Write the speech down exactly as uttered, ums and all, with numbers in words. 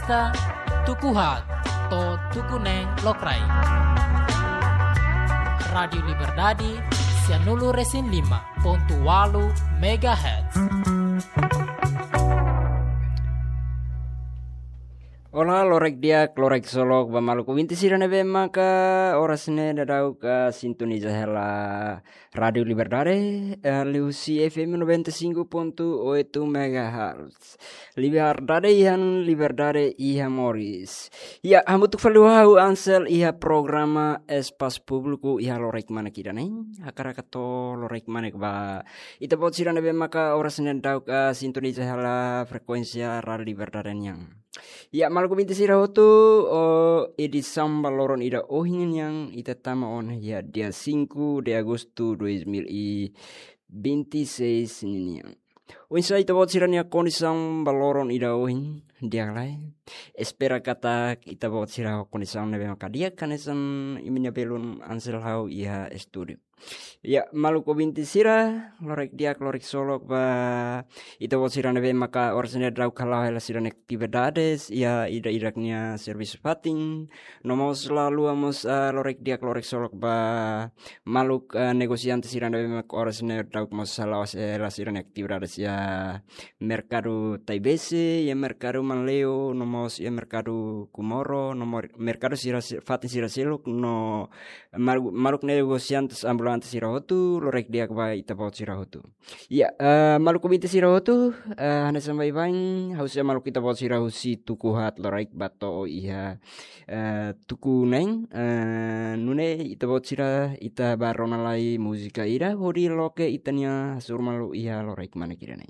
Ka tuku haat to'o tuku neen lokraik. Rádiu Liberdade, sianulu resin lima pontu walu megahertz. Olá, lorek di'ak, lorek solok ba maluk ouvinte sira ne'ebé maka oras ne'e daudaun sintoniza hela Rádiu Liberdade, eh, liuhusi F M noventa e cinco ponto oito megahertz. Liberdade iha-ne'e, liberdade iha moris. Ya, hamutuk fali ho ha'u Ansel iha programa Espasu Públiku iha lorek manek ida-ne'e. Hakarak atu lorek manek ba ita-boot sira ne'ebé maka oras ne'e daudaun sintoniza hela frekuénsia Rádiu Liberdade nian. Ya, maluk ouvinte sira hotu, oh, edisaun ba loron ida ohin nian ita tama ona iha dia cinco de agosto dois mil e vinte e seis ninian. Oinsá ita-boot sira-nia kondisaun ba loron ida ohin, di'ak ka lae? Espera katak ita-boot sira ho kondisaun ne'ebé maka di'ak hanesan imi-nia belun Ansel ha'u iha estúdiu. Ya, maluk ouvinte sira, lorek di'ak, lorek solok ba ita-boot sira ne'ebé maka oras ne'e daudaun hala'o hela sira-nia atividades, ya, ida-idak nia servisu fatin, no mós la haluha mós, ah, lorek di'ak, lorek solok ba maluk, ah, negosiante sira ne'ebé maka oras ne'e daudaun mós hala'o hela sira-nia atividades iha merkadu Taibesi, iha merkadu Manleu, no mós iha merkadu Comoro, no mós merkadu sira se-, fatin sira seluk, no maluk, maluk negosiante ambulante sira hotu, lorek di'ak ba ita-boot sira hotu. Ya, eh, maluk ouvinte sira hotu, eh, hanesan baibain, ha'u sei hamaluk ita-boot sira husi tuku haat lokraik ba to'o iha, eh, tuku neen, eh, nune'e ita-boot sira ita bá rona lai múzika ida, hodi loke ita-nia hasoru malu iha lorek manek ida-ne'e.